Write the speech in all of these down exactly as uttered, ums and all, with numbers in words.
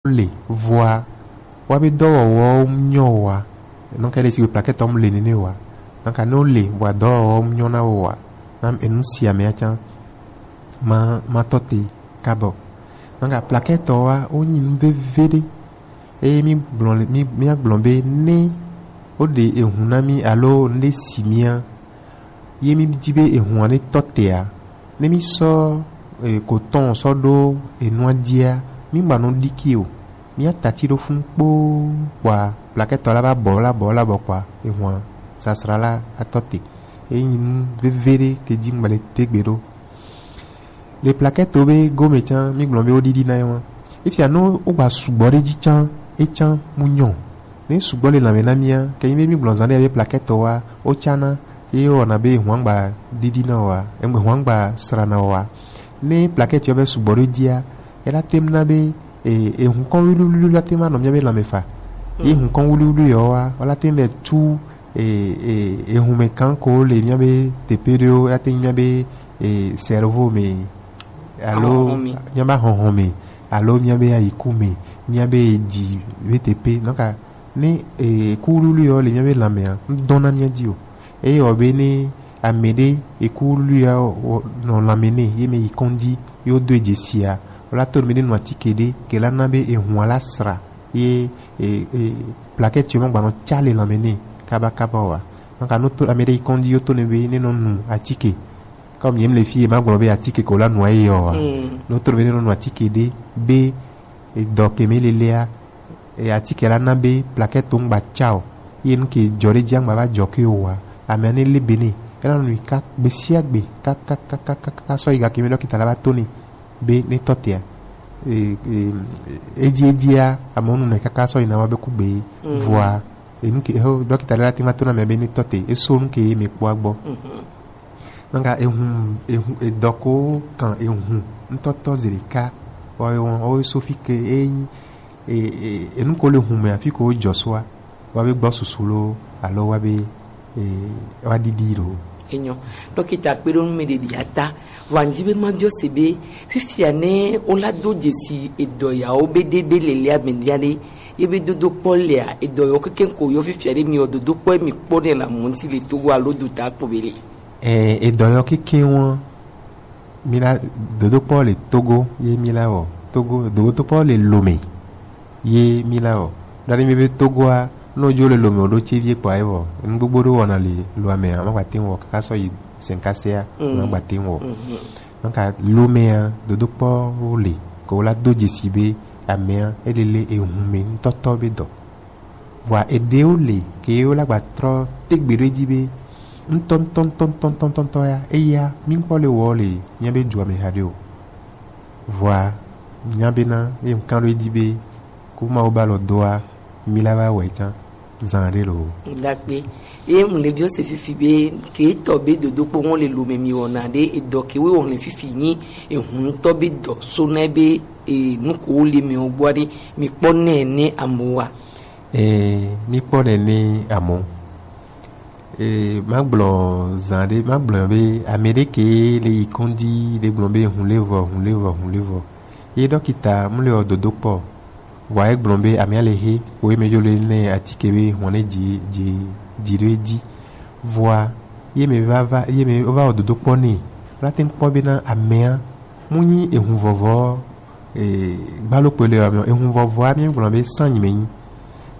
le vɔa, wa be dɔwɔwɔ nyɔ wa. Donc ele si be plaquette tɔ mu le nene wa. Donc ne le vɔa dɔwɔwɔ nyɔ na wo wa. Na enu si amea can ma ma tɔ te kabɔ. Donc plaquette tɔ wa wo nyi nu veve ɖe. Eye mi gblɔ le mi mi agblɔ be ne wo ɖe ehun na mi alo ne si mia ye mi di be ehun ane tɔ tea, ne mi sɔ e, ko tɔn sɔ ɖo enua dia, mi gba nɔ ɖiki o. Mi atati ɖo fun kpoo kpɔa, plaquette tɔ la va bɔ la bɔ la bɔ kpɔa, ehun sasra la atɔ te. Eyi nu veve ɖe ke di ŋgba le tegbe ɖo. Le plaquette be gome can mi gblɔ be wo ɖiɖi na ye wa. Efia no wo gba sugbɔ ɖe dzi can, e can mu nyɔ. Ne sugbɔ le lãme na mia, ke nyi be mi gblɔ zã ɖe be plaquette wa, wo cana, ye wɔna be ehun gba ɖiɖi na wa, ehun gba sra na wa. Ne plaquette yɔ be sugbɔ ɖe dzia, ela tem na be e, ehun kɔn wiliwili la tem anɔ mia be lãme fa. Ye ehun kɔn wiliwili yɔ wa, wala tem be tu e, e, ehun me kan ko le mia be tepe ɖewo, ate nyi mia be e, cerveau me alo Ahɔhɔ me. Mia be ahɔhɔ me alo mia be ayiku me, mia be dzi be tepe. Donc ne e, kuwuluwulu yɔ le mia be lãmea, ŋdɔna mia dzi o. Eye wɔ be ne ame ɖe ekuwuluwulu ya wɔ- nɔ lãme nɛ ye me yi kɔndzi ye wodo edzesia, wala to me ɖe nu atike ɖe ke la na be ehun ala sra ye e, e, plaquette yɔ magbanɔ tsa le lãme nɛ kabakaba wa. Donc no to ame ɖe yi kɔndzi yo to ne be ne nɔ nu atike. Comme yem le fi ye magblɔ be atike ko la nu ayi yɔ wa. Mm. No to ne be ne nɔ nu atike ɖe be edɔ ke me lelea e atike la na be plaquette to ŋgba tsa o. Ye nu ke jɔ ɖe dzi aŋgba va jɔ ke o wa. Ame ne le be ne ela nu ka gbe sia gbe ka ka ka ka ka ka sɔ yi ga ke me dɔkita la va to ne be ne tɔ tea. E, e, edzi edzia amewo nu ne kaka sɔ yina wa be ku gbe. Mm. Vɔa enu ke ho dɔkita ɖe la te ma to na mɛ be ne tɔ te eso nu ke me kpɔ agbɔ. Mhm. Nanga ehun ehun edɔ ko kan ehun ŋutɔtɔ zi ɖeka wa be wɔn wa be so fi ke enyi e, e, enu ko le hun me afi ko jɔ soa wa be gbɔ susu lo alo wa be e, wa ɖiɖi lo. Enyo. Dɔkita kpe ɖo nu me ɖe ɖi ata. Vɔ anyi be ma biɔ se be fifia ne wo la do dzesi edɔ yawo be ɖe be le lia me dia ɖe ye be dodo kpɔ lea edɔ yawo keke ko yɔ fifia ɖe mi yɔ dodo kpɔ mi kpɔ ne la mu ŋuti le Togo alo do ta kpɔ be le. Eh, edɔ yawo keke wɔn mi la dodo kpɔ le Togo ye mi la wɔ Togo dodo kpɔ le Lome ye mi la wɔ. Ɖaɖi mi be Togoa no jo le Lome o ɖo tse vie kpɔ ayi wɔ. Nu gbogbo ɖo wɔna le lo ame a ma gba te wɔ kaka sɔ yi senkasea. Mm. Ma gba te wɔ. Mhm. Nka Lomea dodo kpɔ wo le ko wo la do dzesi be amea ele le ehun me ŋutɔtɔ be dɔ. Vɔa eɖewo le ke wo la gba trɔ tegbe ɖo edzi be ŋutɔ ŋutɔ ŋutɔ ŋutɔ ŋutɔ ŋutɔ ya eya mi kpɔ le wɔ le mia be dua me haɖe o. Vɔa mia bena ye ŋkan ɖo edzi be ko Mawu ba lɔ doa mi la va wɔe tsã zã ɖe lo. Dakpe. Ye mu le biɔ se fifi be ke tɔ be dodo kpɔ ŋɔ le Lome mi wɔna ɖe edɔ ke wo wɔna fifi nyi ehun ŋutɔ be dɔ so na be e nukuwo le mi wo gbɔ ɖe mi kpɔ nɛ ne amewo wa. Ee, mi kpɔ nɛ ne amewo. Ee, ma gblɔ zã ɖe ma gblɔ be ame ɖe ke le yi kɔndzi ɖe gblɔ be hun le vɔ hun le vɔ hun le vɔ ye dɔkita mu le wɔ dodo kpɔ. Vɔa egblɔ be amea le he wo eme dzo le ne atike be hɔn ne dzi dzi dzi ɖo edzi. Vɔa ye me va va ye me va wɔ dodo kpɔ ne la te kpɔ be na amea mu nyi ehun vɔvɔ. Ee, gbalo kpele wa me ehun vɔvɔa mi gblɔ be sanyi me nyi.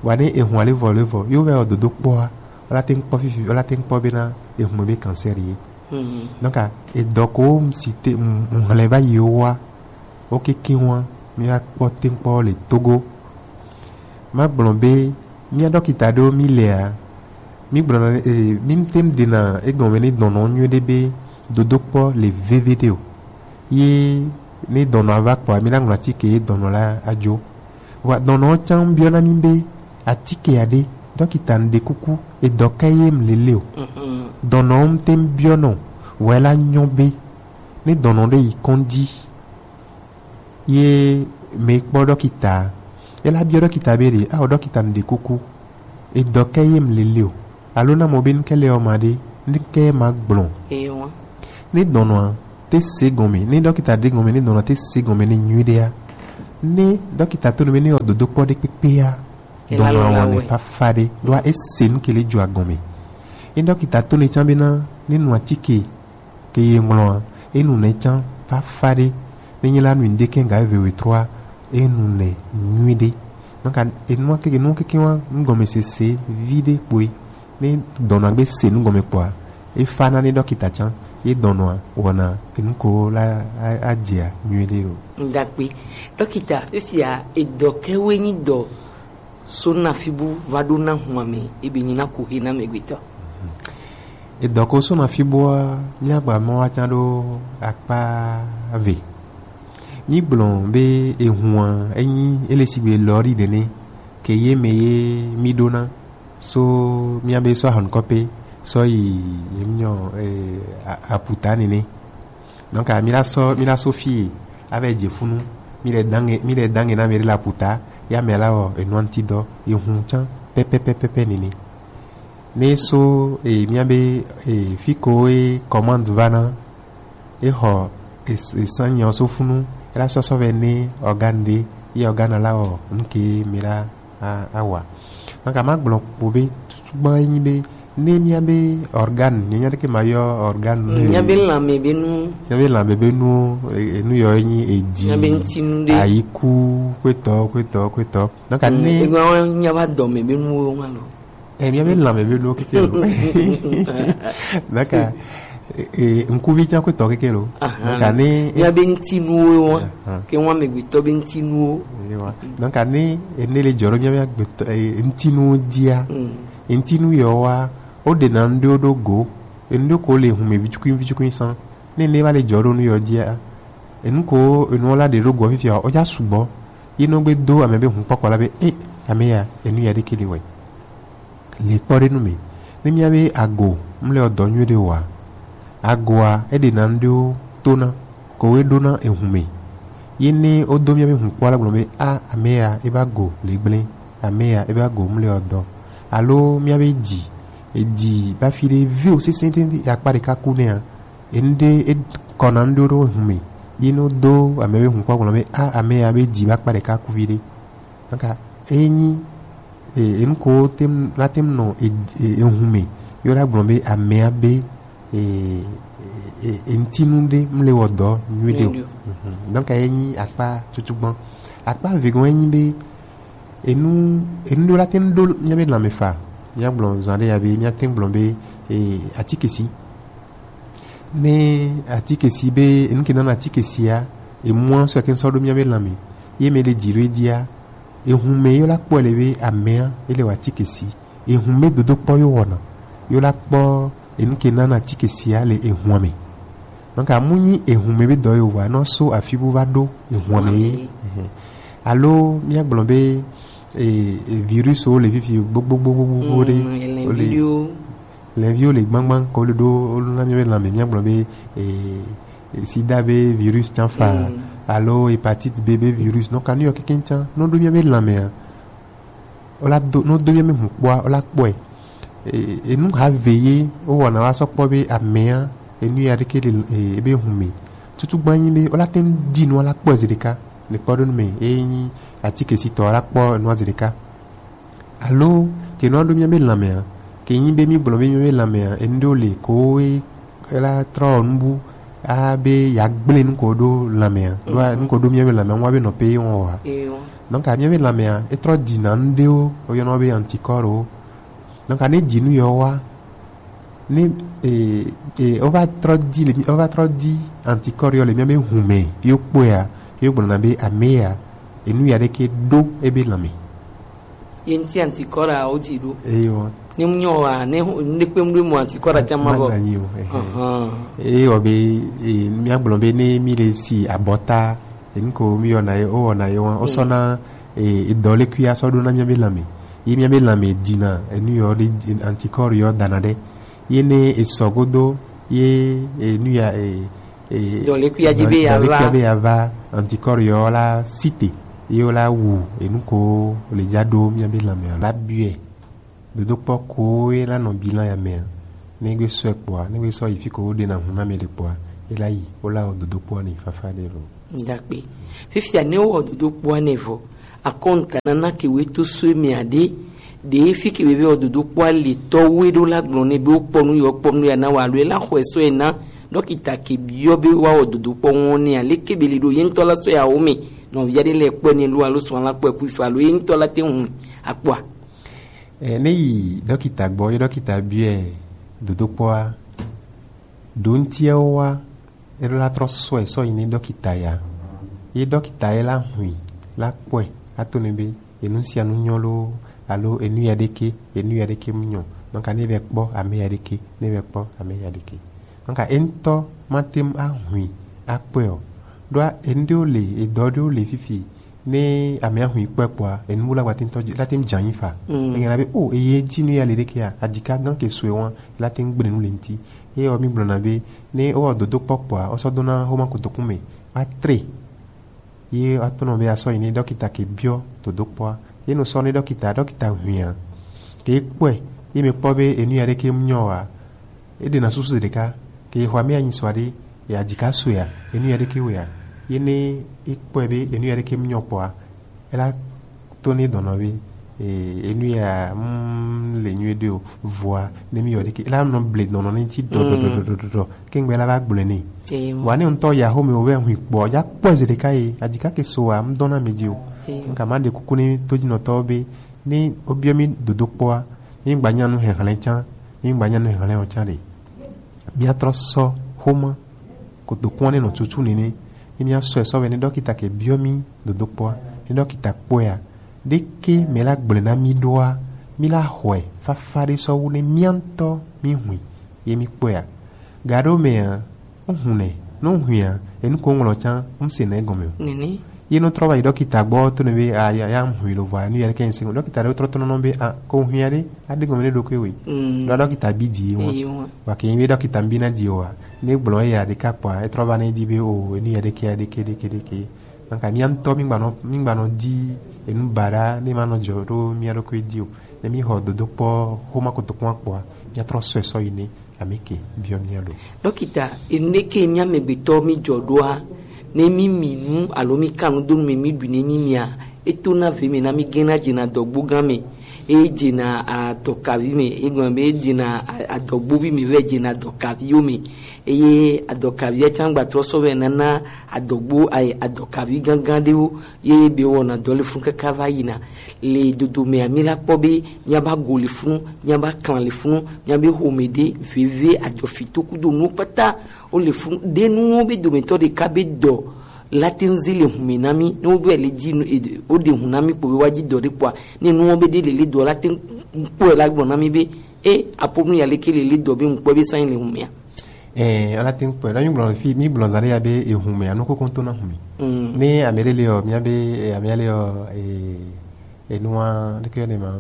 Vɔa ne ehun ale vɔ le vɔ yo va wɔ dodo kpɔa la te kpɔ fifi la te kpɔ be na ehun me be cancer ye. Mhm. Donc edɔ ko si te ŋlɛ va yi wa wo keke wa mi va kpɔ te kpɔ le Togo. Ma gblɔ be mia dɔkita ɖewo mi lea mi gblɔna e, mi te dena egɔme ne dɔnɔ nyuie ɖe be dodo kpɔ le veve ɖe o. Ye ne dɔnɔ ava kpɔa mi la ŋlɔ atike ye dɔnɔ la adzo. Vɔa dɔnɔ tsã biɔna mi be atike aɖe dɔkita ŋɖe kuku edɔ ka ye mlele o. Mhm. Dɔnɔ ŋte biɔnɔ vɔa la nyɔ be ne dɔnɔ ɖe yi kɔndzi ye me kpɔ dɔkita ye la biɔ dɔkita be ɖe awɔ dɔkita ŋɖe kuku edɔ ka ye mlele o. Alo na mɔ be ŋke le ɔ ma ɖe ŋke ma gblɔ. Ewa. Ne dɔnɔa te se gɔme ne dɔkita ɖe gɔme ne dɔnɔa te se gɔme ne nyui ɖea Ne dɔkita to nu be ne ewɔ dodokpɔ ɖe kpekpea, dɔnɔ awɔ nɛ fafa ɖe, ɖo ese nu ke le jo agɔme. Ne dɔkita to nu can be na ne nu atike ke ye ŋlɔa, enu nɛ can fafa ɖe. Ne nyi la nu ŋde ke ga eve we trois, enu nɛ nyui ɖe. Donc, enu keke, nu keke wa, ŋgɔmesese vi ɖe kpoe. Ne dɔnɔa gbe se nu gɔme kpɔa, e fa na ne dɔkita can, ye dɔnɔa wɔna enu ko la a, a dzia nyui ɖe lo. Ŋdakpe, dɔkita, fifia edɔ kewe nyi dɔ so na fi bu va ɖo na hua me, ebe nyi na ku he na megbetɔ. Edɔ ko so na fi bua, mía gba mɔ wa can ɖo akpa ve. Mi gblɔ be ehua enyi ele sigbe lɔri ɖe ne, ke ye me ye mi ɖo na. So mía be sɔ ahɔn kɔpe sɔ yi ye mi nyɔ, eh, a-, aputa nene. Donc, a, mi la sɔ, mi la sɔ fie, ave dze funu, mi le dange, mi le dange na mi la puta, ya mi la o, e nuanti dɔ, e hun can, pɛpɛpɛpɛpɛ nini. Ne so, e, mía be, e, fi ko e commande va na, e xɔ, e, e san nyɔ so funu, e la sɔ sɔ vɛ ne organe de, ye organe la o, nke mi la a, awa. Donc, a ma gblɔ kpo be, tutu gbã enyi be, ne mía be organe, nye nya ɖeke ma yɔ organe nu. Mía be lãme be nu. Mía be lãme be nu, e, e, nu yɔ enyi edi, mía be ŋutinu ɖe, ayiku, kpetɔ, kpetɔ, kpetɔ. Donc, ne egba wa nya va dɔme be nuwo ma lo. E, mía be lãme be nuwo keke lo. Donc, e, e, ŋkuvi can kpetɔ keke lo. Aha. Donc, ne mía be ŋutinuwo wa, aha, ke wa megbetɔ be ŋutinuwo. Ewa. Donc, ne ene le dzɔ ɖo mía be agbetɔ, e, ŋutinuwo dzia, mm, ŋutinu yɔ wa, wo ɖe na nu ɖewo ɖo go, enu ɖewo ko le hume vicukuin vicukuin san. Ne ene va le dzɔ ɖo nu yɔ dzia, enu ko enu la ɖe ɖo go fifia, o ja sugbɔ. Ye nɔ gbe do ame be hun kpɔkpɔ la be, e, ame ya, enu ya ɖeke le wɛ. Le kpɔ ɖe nu me. Ne mía be ago mle ɔ dɔ nyui ɖe wa, agoa e ɖe na nu ɖewo to na, ko wo ɖo na ehun me. Ye ne wo do mía be hun kpɔ la gblɔ be, a, ame ya e ba go le gblẽ, ame ya e ba go mle ɔ dɔ. Alo mía be dzi, edzi ba fi ɖe ve o sese ɖe akpa ɖeka ku nɛa, enu ɖe e kɔ na nu ɖewo ɖo ehun me. Ye ne wo do ame be hun kpɔ gblɔ be, a, ame ya be dzi ba akpa ɖeka ku vi ɖe. Donc, enyi, e, enu ko te ŋu, la te ŋu nɔ, e, e, ehun me. Yo la gblɔ be amea be, e, e, e, ŋutinu ɖe mle wɔ dɔ nyui ɖe o. Nyui ɖe o. Mhm. Donc, enyi akpa tutu gbɔn. Akpa vegɔn enyi be enu, enu ɖewo la te ŋu ɖo mía be lãme fa. Mía gblɔ zã ɖe ya be, mía te ŋu gblɔ be, e, atikesi. Ne atikesi be, enu ke nana atikesi ya, emua sɔ ke ŋsɔ ɖo mía be lãme. Ye me le dzi ɖo edia, ehun me yo la kpɔ le be amea, ele wa atikesi. Ehun me dodo kpɔ yo wɔna. Yo la kpɔ enu ke nana atikesi ya le ehun me. Donc, amu nyi ehun me be dɔ yo wa, nɔ so afi bu va ɖo ehun me ye. Ehun me. Ehɛ. Alo, mía gblɔ be, e, e, virus wo le fifi gbogbogbogbo ɖe. Mm, ele wo le video. Lɛviwo le gbangban ko le ɖo wo na mía be lãme, mía gblɔ be, e, e, sida be virus can fa, mm, alo hépatite B be virus. Donc, anu yɔ keke can, no ɖo mía be lãmea, o la do, no do mía be hun kpɔa, o la kpɔe. E, enu ha ve ye, wo wɔna wa sɔ kpɔ be amea, enu ya ɖeke le, e, ebe hun me. Tutu gbã nyi be, o la te ŋu ɖi nua la kpɔ zi ɖeka, le kpɔɖonu me, e nyi atikesitɔ la kpɔ nua zi ɖeka. Alo, ke nua ɖo mía be lãmea, ke nyi be mí gblɔ be mía be lãmea, enu ɖewo le ko e la trɔ nubu, a be ya gblẽ nu ko ɖo lãmea, ɖo a, nu ko ɖo mía be lãmea, ŋua be nɔ pe ye wɔn wa. Ye wɔn. Donc, a mía be lãmea, e trɔ ɖi na nu ɖewo, o yɔna be anticorps wo. Donc, a ne ɖi nu yɔ wa, ne, e, e, o va trɔ ɖi le, o va trɔ ɖi anticorps yɔ le mía be hun me, yo kpɔe ya, yo gblɔ na be amea, enu ya ɖeke ɖo ebe lãme. Ye ŋuti anticorps a wo dzi ɖo. Eyo. Ne mu nyɔ wa, ne ho-, ne kpe mu ɖo mu anticorps a tsa ma vɔ. Ma nanyi o, ehe. Ahan. Eyo be, e, mía gblɔ be ne mí le si abɔta, enu ko mí yɔna ye, wo wɔna ye wa, wo sɔ na, e, edɔ le kui a sɔ ɖo na mía be lãme. Ye mía be lãme ɖi na, enu yɔ ɖe, anticorps yɔ dana ɖe. Ye ne e sɔ godo, ye, e, nu ya, e, e, dɔ le kui a dzi be ya va. Dɔ le kui a be ya va, anticorps yɔ la site, ye wo la wu, enu ko le dza ɖo mía be lãme la biɛ. Dodokpɔ ko ye la nɔ bilan ya mea, ne gbe sɔe kpɔa, ne gbe sɔ yi fi ko wo ɖe na hun na mɛ ɖe kpɔa, ye la yi, wo la wɔ dodokpɔ ni fafa ɖe lo. Ndakpe. Fifia ne wowɔ dodokpoa nɛ vɔ, akɔnta nana ke we to so eme aɖe, ɖe fi ke be be wɔ dodokpoa le tɔ we ɖo la gblɔ ne be wokpɔ nu yɔ kpɔ nu ya na wa alo ela xɔe sɔ ena dɔkita ke biɔ be woawɔ dodokpɔ ŋɔ ne aleke be li ɖo ye ŋutɔ la sɔ ya wo me nɔvia ɖe le kpɔe ne lo alo sɔ la kpɔe ku ifo alo ye ŋutɔ la te ŋu akpɔa. E, ne yi dɔkita gbɔ ye dɔkita biɔe dodokpɔa ɖo ŋutiawo wa Eɖo la trɔ sɔe sɔ yi ne dɔkita ya. Ye dɔkita ye la hui la kpɔe ato ne be enu sia nu nyɔ lo alo enu ya ɖeke enu ya ɖeke mu nyɔ. Donc ne vɛ kpɔ ame ya ɖeke ne vɛ kpɔ ame ya ɖeke. Donc eŋutɔ ma tem ahui akpɔe o. Ɖo enu ɖewo le edɔ ɖewo le fifi ne ame ahui kpɔe kpɔa enu la gba tem tɔ la tem dza yi fa. Mm. Egana be o eye ti nu ya le ɖeke ya adika gan ke sue wan la tem gble nu le ŋuti. Ye wɔ mi gblɔna be ne wowɔ dodokpɔ kpɔa wosɔ dona homa kotoku me atre. Ye atɔnɔ be asɔ yi ne dɔkita ke biɔ dodokpɔa ye no sɔ ne dɔkita dɔkita huia ke kpɔe ye me kpɔ be enu ya ɖeke mu nyɔ wa eɖena susu ɖeka ke ye xɔ ame anyi sɔ aɖe ye adika soea enu ya ɖeke wea ye ne ekpɔe be enu ya ɖeke mu nyɔ kpɔa ela to ne dɔnɔ be eh, enu ya mm, le nyuie ɖe o vɔa ne mi yɔ ɖeke ela nɔ ble dɔnɔ ne ti dɔdɔdɔdɔdɔ kengbe la va gblɔe ne. Wa ne ŋutɔ ya xome wo vɛ hui kpɔ ya kpɔ eze ɖeka ye adika ke so wa ŋdɔ na mi di o. Nka ma ɖe kuku ne todzinɔtɔwo be ne wobiɔ mi dodokpɔa ne mi gba nya nu hɛhlɛ can ne mi gba nya nu hɛhlɛ o can ɖe. Míatrɔ sɔ xoma kotokuɔ ne nɔ tutu nene ne míasɔe sɔ vɛ ne dɔkita ke biɔ mi dodokpɔa ne dɔkita kpɔea ɖeke mɛ la gblɔe na mi ɖoa mi la xɔe fafa ɖe sɔ wu ne míantɔ mi hui ye mi kpɔea gaɖo mɛa ŋu nɛ ne ŋuia enu ko ŋlɔ can ŋse nɛ gɔmɛ o. Nene. Ye no trɔ va yi dɔkita gbɔ to ne be a ya ya ŋu yi lo vɔa nu ya ɖe ke ŋse dɔkita ɖe trɔ to nɔnɔ be a ko ŋu ya ɖe a ɖe gɔmɛ ne ɖo ke we. Mm. Ɖo dɔkita bi di ye ŋua. Ye ŋua. Wa ke ŋu be dɔkita bi na di wa ne gblɔ ya ɖe ka kpɔa e trɔ va ne di be o enu ya ɖe ke ya ɖe ke ɖe ke ɖe ke. Donc mía ŋutɔ mi gbanɔ mi gbanɔ di enu baɖa ne ma nɔ dzɔ ɖo mía ɖokui di o ne mi xɔ dodo kpɔ xoma kotokua kpɔa mía trɔ sɔe sɔ yi ne. Ameke biɔ mía ɖo. Dɔkita, enu ɖe ke mía amegbetɔ mi dzɔ ɖoa, ne mi mi nu alo mi ka nu do nu me mi ɖu ne mi mia, eto na ve me na mi gena dzena adɔgbo gã me, e dzena adɔkavi me, e gblɔ be e dzena a- adɔgbovi me vɛ dzena adɔkaviwo me, eye adɔkavia tsã gba trɔ sɔ vɛ nana adɔgbo ayi adɔkavi gãgã ɖewo. Ye be wɔna dɔ le funu kaka va yina le dodo mea mi la kpɔ be mía ba go le funu mía ba klan le funu mía be home ɖe veve adzɔfi to kudo nuwo kpata wo le funu ɖe nuwo be dometɔ ɖeka be dɔ la te ŋu ze le hume na mi ne wo be le dzi nu e- wo ɖe hu na mi kpo be wa dzi dɔ ɖe kpɔa ne nuwo be ɖe le le dɔ la te ŋu kpɔe la gblɔ na mi be e aƒo nu ya leke le le dɔ be ŋu kpɔ be sanyi le humea. Ɛɛ, ala te ŋu kpɔe ɖo mi gblɔ fi mi gblɔ zã ɖe ya be ehume anu koko ŋutɔ na hume. Mm. Ne ame ɖe le ɔ mía be eh, ame ya le ɔ eh, enua ɖeke ne ma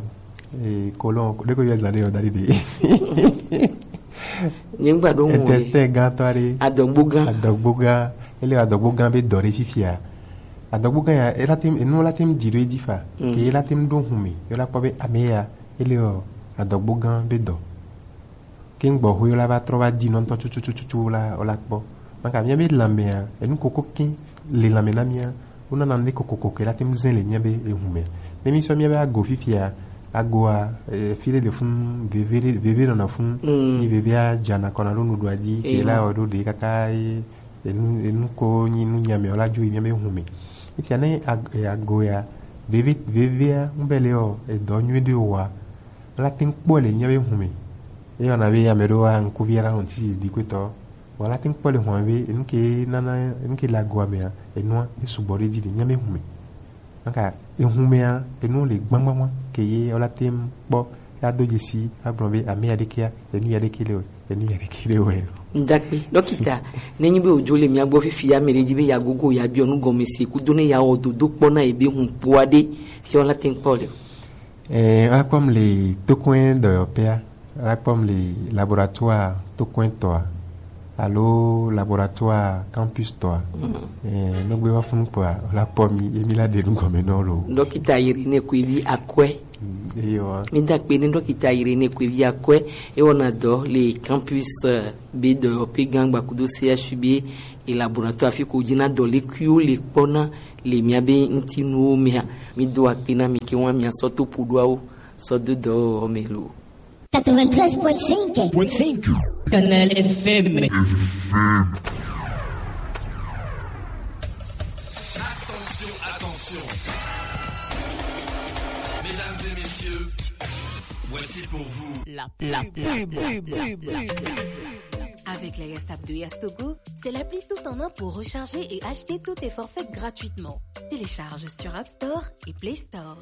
eh, kolon ɖeke yɔ zã ɖe ɔ da ɖi ɖe. Nye ŋgba ɖo ŋu o. Intestin gã tɔ ɖe. Adɔgbo gã. Adɔgbo gã. Ele adɔgbo gã be dɔ ɖe fifia. Adɔgbo gã ya ela te enu la te di ɖo edzi fa. Mm. Ke ela te ɖo hume. Ela kpɔ be ame ya ele ɔ adɔgbo gã be dɔ. Ke ŋgbɔ xo la va trɔ va di nɔ ŋutɔ tutututu la o la kpɔ. Maka mía be lãmea enu koko ke le lãme na mía wo nana ne kokoko ke la te ŋu zẽ le mía be ehu me. Ne mi sɔ mía be ago fifia agoa eh, fi ɖe le funu veve ɖe- veve nɔna funu Mm. Ye vevea dzana kɔna ɖo nuɖua dzi ke Ewa. La wɔ ɖo ɖe kaka ye enu enu ko nyi nu nyame o la dzo yi mía be ehu me. Fifia ne ag- eh, ago ya veve vevea ŋu be le ɔ edɔ nyui ɖe o wa. La te ŋu kpɔe le mía be hu me. Eyɔna be ame ɖewo wa ŋkuvi la nɔ ti ɖi kpetɔ. Vɔ la te ŋu kpɔe le hua be enu ke nana enu ke le agoa mea enua esugbɔ ɖe dzi le mía be hu me. Naka ehu mea enu le gbagbagba ke ye la te ŋu kpɔ ya do dzesi agblɔ be ame ya ɖekea enu ya ɖeke le o enu ya ɖeke le o. Ndakpe dɔkita ne nyi be odzo le mía gbɔ fifi ya me ɖe dzi be ya gogo ya biɔ nu gɔme se kudo ne ya wɔ dodo kpɔ na ebe hu kpɔa ɖe fia la te ŋu kpɔ le o. Eh, akpɔm le tokɔe dɔyɔƒea, akpɔm le laboratoire tokɔe tɔa, alo laboratoire campus tɔa. Mm. Eh, nɔgbe wa funu kpɔa, la kpɔ mi, emi la de nu gɔme nɔ lo. Dɔkita Irene Kwevi Akɔe. Mm. Ewa. Mi da akpe ne ɖɔkita Irene Kwevi Akɔe, e wɔna dɔ le campus, eh, be dɔyɔƒe gã gbakudo C H U B e laboratoire afi ko dzi na dɔlekpuiwo le kpɔna le miabe ŋutinuwo mea. Mi do akpe na mi ke wa mia sɔ to ƒoɖoawo sɔ do dɔwɔwɔ me lo. Quatre-vingt-treize point cinq. Canal F M. Attention, attention. Mesdames et messieurs, voici pour vous la, la pub. Avec la Yastap de Yastogo, c'est l'appli tout en un pour recharger et acheter tous tes forfaits gratuitement. Télécharge sur App Store et Play Store.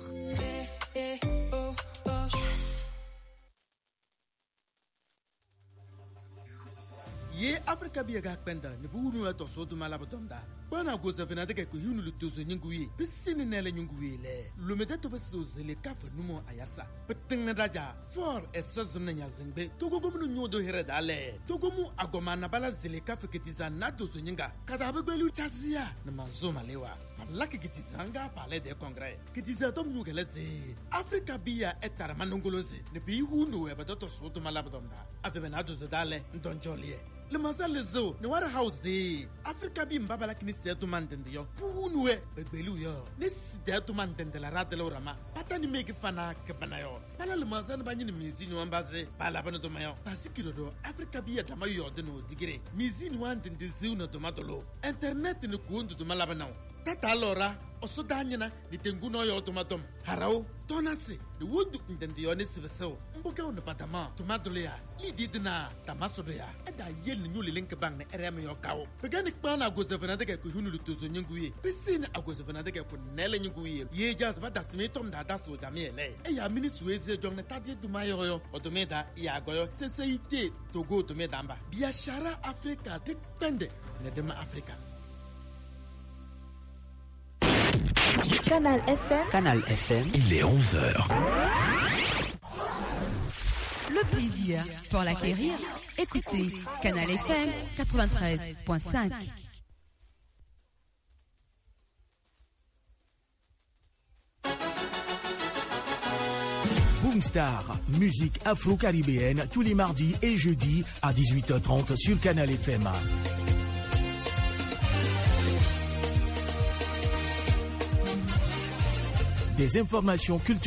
Ye Afrika biya ga kpɛnda ni bu wunu etɔ so duma la bɔtɔnda. Kpana goza vena de kɛ ko hiunu lu tozo nyingu ye. Bisi ni nɛlɛ nyingu ye lɛ. Lumɛ de to bisi zele kafe numo ayasa. Peting na daja. For e so zim na nya zingbe. Togo gominu nyo do here da lɛ. Togo mu agoma na bala zele kafe ketiza na dozo nyinga. Kada be gbelu chazia. Na manzo malewa. Palaki ketiza nga palais de congrès. Ketiza tom nyu gele ze. Afrika biya e tara manongolo ze. Ne bi hu no e ba doto so to malabdom da. Ave be na dozo da lɛ. Ndonjolie. Le maza le zo. Ne wara house de. Afrika bi mbaba la kini se to mandende yo. Pu hu no e. Be gbelu yo. Ne si de to mandende la radele orama. Pata ni meki fana ke bana yo. Bala le manza ne ba nyini mizi ni wamba ze. Bala bana do mayo. Pasi kilo do. Afrika biya dama yo de no digire. Mizi ni wande de ziu na do madolo. Internet ni ku ndu do malaba na o. Tata lora. Oso da nyina. Ni tengu no yo do madom. Harao. Tona se. Ni wundu ndende yo ni sibeseo. Mboke o ne badama. Do madolo ya. Li di dina. Dama so do ya. Eda yel ni nyuli link bang ne R M yo kao. Pegani kpana agoze vena de ke ku hunu lu tozo nyingu ye. Pisini agoze vena de ke ku nele nyingu ye. Ye jazz ba dasimi tom da daso jami ele. E ya mini suezi jong ne tadi duma yo yo. Odumeda ya goyo. Sense ite togo odumeda mba. Biashara Afrika te pende. Ne dema Afrika. Canal F M. Canal F M. Il est onze heures. Le plaisir pour l'acquérir. Écoutez Canal F M quatre-vingt-treize point cinq. Boomstar, musique afro-caribéenne tous les mardis et jeudis à dix-huit heures trente sur Canal F M. Des informations culturelles.